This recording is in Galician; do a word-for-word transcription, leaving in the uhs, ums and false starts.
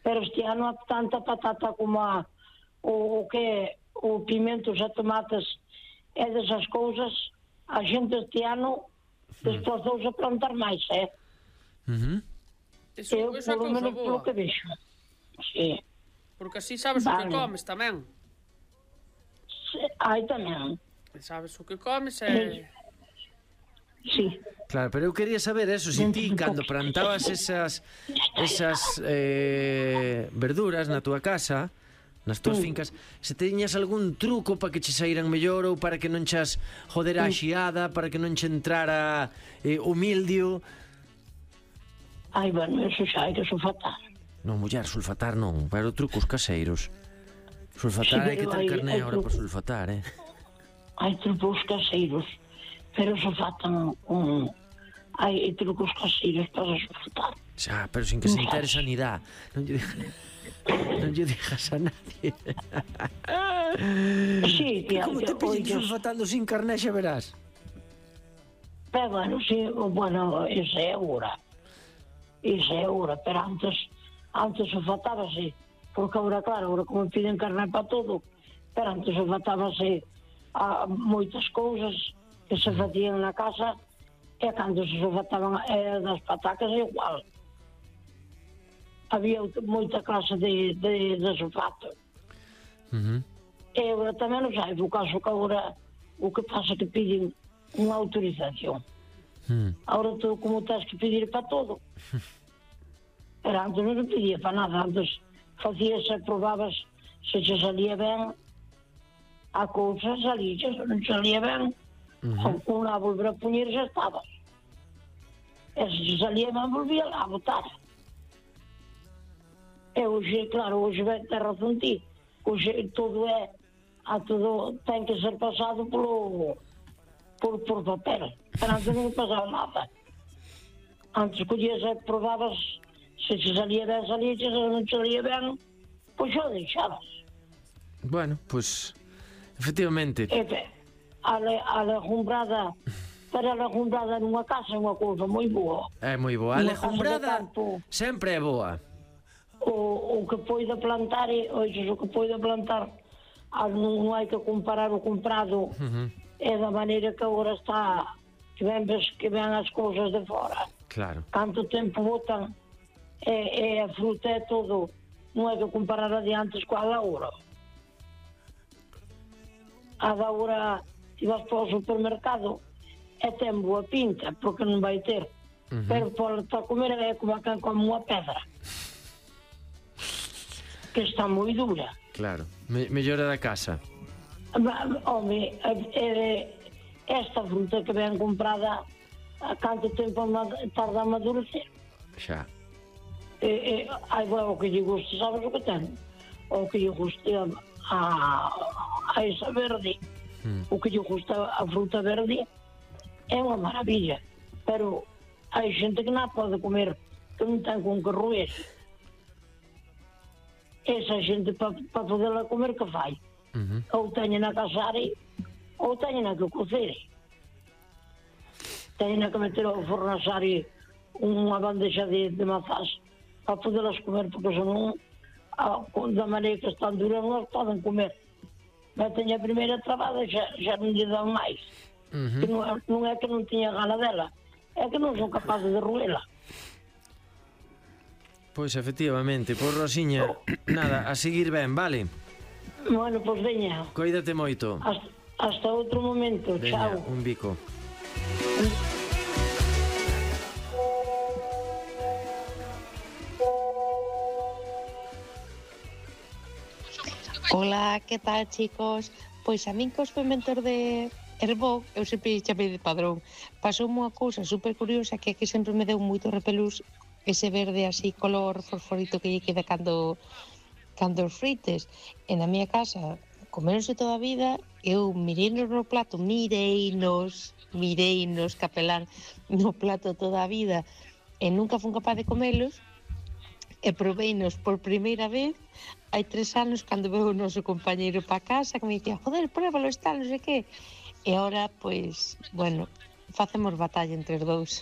pero este ano tanta patata como a, o, o que é o pimentos e tomates e desas cousas, a xente este ano desplazouse a plantar máis, eh? Uh-huh. Eso, Eu, eso é polo cousa menos, polo boa. que vexo. Sí. Porque así sabes Vale. o que comes tamén. Sí, hai tamén. Sabes o que comes e... Sí. Claro, pero eu quería saber eso, se ti cando plantabas esas esas eh, verduras na túa casa, nas túas fincas, se teñas algún truco para que che saíran mellor ou para que non chas joder a xiada, para que non che entrara eh, o mildio. Ai, bueno, eso xa hai que sulfatar. Non, muller, sulfatar non, pero trucos caseiros. Sulfatar Sí, hai que ter hai- carné hai agora para trucos. sulfatar, eh? Hai trucos caseiros, pero sulfatan un... Hai trucos caseiros para sulfatar. Xa, pero sin que se entere sanidade. Non lle digas, non lle digas a nadie. Sí, Que tía, como te yo- pillen oye, sulfatando sin carné xa verás. pero bueno, sí, bueno, esa é agora. Esa é agora, pero antes, antes sulfatábase, porque agora, claro, agora como piden carne para todo, pero antes sulfatábase a moitas cousas que se facían na casa, e cando se sulfataban eh, das patacas igual. Había moita clase de, de, de sulfato. Uh-huh. E agora tamén non sai, o caso que agora o que pasa é que piden unha autorización. Mm. Agora todo como tens que pedir para todo. Pero antes non se pedía para nada, antes facíase, probabas se che salía ben a cousa, salía, se non salía ben, Uh-huh. unha a volver a poñer xa estaba. E se che salía ben, volvía lá a botar. E hoxe, claro, hoxe vai ter razón ti. Hoxe todo é, a todo ten que ser pasado polo, por, por papel. Pero antes non pasaba nada. Antes collías e probabas, se che salía ben, salía, se non salía ben, pois xa deixabas. Bueno, pues efectivamente. E te, a, le, a legumbrada, para a legumbrada nunha casa é unha cousa moi boa. É moi boa. A Nunha casa de legumbrada campo, sempre é boa. o, o que poida plantar, e, oixes, o que poida plantar, ah, non, non hai que comparar o comprado, Uh-huh. é da maneira que agora está, que ven, ves, que ven as cousas de fora. Claro. Canto tempo botan, e, e a fruta é todo, non hai que comparar a de antes coa da agora. A da agora, se vas para o supermercado, e ten boa pinta, porque non vai ter. Uh-huh. Pero para, para comer é como a quen come unha pedra, que está moi dura. Claro. Me, mellora da casa. Ma, home, é, esta fruta que ven comprada, a canto tempo ma- tarda a amadurecer. Xa. E, e, ai, bueno, o que lle guste, sabes o que ten? O que lle guste a, a, a esa verde, Mm. o que lle gusta a fruta verde, é unha maravilla. Pero hai xente que non pode comer, que non ten con que roer. Esa xente, para pa poderla comer, que fai? Uh-huh. Ou teñen a casare, ou teñen a que cocere. Teñen a que meter ao forno a asare unha bandexa de, de mazás para poderlas comer, porque senón, a, da maneira que están duras, non as poden comer. Meten a primeira trabada e xa, xa non lle dan máis. Uh-huh. Que non, é- non é que non tiña gana dela, é que non son capaces de roela. Pois efectivamente, por Rosiña, nada, a seguir ben, vale? Bueno, pois veña, Coídate moito. hasta, hasta outro momento, Veña, chao. un bico. Hola, que tal, chicos? Pois a min cos fermentor de Herbó, eu sempre chamei de padrón. Pasou unha cousa super curiosa que aquí sempre me deu moito repelús ese verde así color fosforito que lle queda cando cando os frites. E na miña casa comeronse toda a vida, eu mireinos no plato, mireinos, mireinos, capelán, no plato toda a vida, e nunca fun capaz de comelos, e proveinos por primeira vez hai tres anos cando veu o noso compañeiro pa casa que me dicía, joder, pruébalo, está, non sei que. E agora, pois, bueno, facemos batalla entre os dous.